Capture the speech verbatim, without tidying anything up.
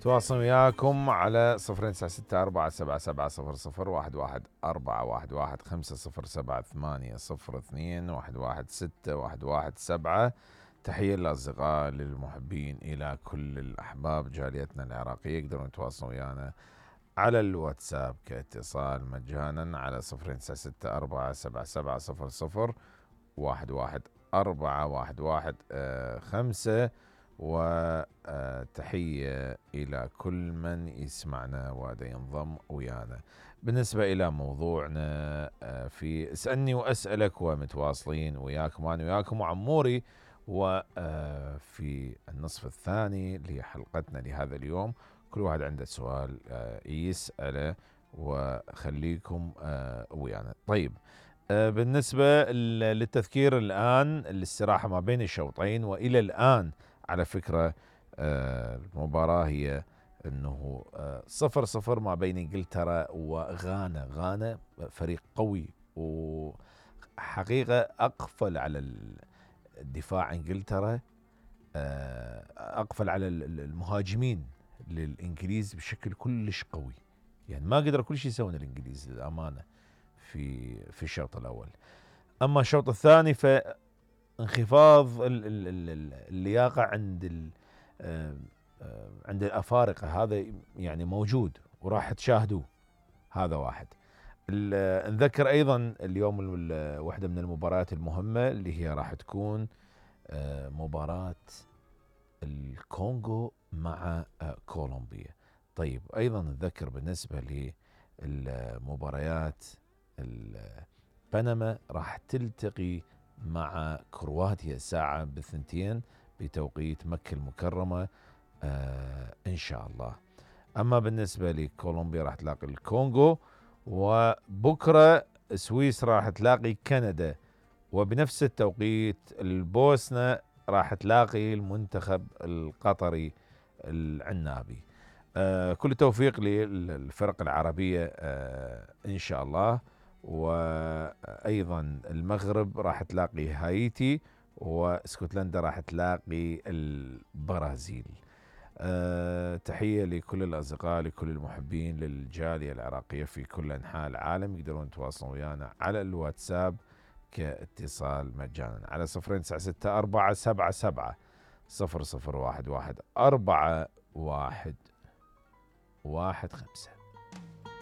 تواصل وياكم على صفر تسعة ستة أربعة سبعة سبعة صفر صفر واحد واحد أربعة واحد واحد خمسة صفر سبعة ثمانية صفر اثنين واحد واحد ستة واحد واحد سبعة. تحية للأصدقاء للمحبين إلى كل الأحباب جاليتنا العراقية. يقدرون يتواصلون ويانا على الواتساب كاتصال مجانا على صفر تسعة ستة أربعة سبعة سبعة صفر صفر واحد واحد أربعة واحد واحد خمسة. وتحية إلى كل من يسمعنا ودا ينضم ويانا. بالنسبة إلى موضوعنا في اسألني وأسألك ومتواصلين وياكم أنا وياكم وعموري، وفي النصف الثاني لحلقتنا لهذا اليوم كل واحد عنده سؤال يسأله وخليكم ويانا. طيب، بالنسبة للتذكير الآن الاستراحة ما بين الشوطين، وإلى الآن على فكرة المباراة هي أنه صفر صفر ما بين إنجلترا وغانا. غانا فريق قوي وحقيقة أقفل على الدفاع إنجلترا، أقفل على المهاجمين للإنجليز بشكل كلش قوي. يعني ما قدر كل شيء يسوون الإنجليز للأمانة في في الشوط الأول. أما الشوط الثاني فانخفاض اللياقة عند عند الأفارقة، هذا يعني موجود وراح تشاهدوه. هذا واحد. نذكر أيضا اليوم واحدة من المباريات المهمة اللي هي راح تكون مباراة الكونغو مع كولومبيا. طيب، أيضا نذكر بالنسبة للمباريات بنما راح تلتقي مع كرواتيا الساعة بالثنتين بتوقيت مكة المكرمة آه إن شاء الله. أما بالنسبة لكولومبيا راح تلاقي الكونغو، وبكرة سويسرا راح تلاقي كندا، وبنفس التوقيت البوسنة راح تلاقي المنتخب القطري العنابي. آه كل التوفيق للفرق العربية آه إن شاء الله. وأيضا المغرب راح تلاقي هايتي، واسكتلندا راح تلاقي البرازيل. أه تحية لكل الأصدقاء لكل المحبين للجالية العراقية في كل أنحاء العالم. يقدرون يتواصلون ويانا على الواتساب كاتصال مجانا على صفر تسعة ستة أربعة سبعة سبعة صفر صفر واحد واحد أربعة واحد واحد خمسة.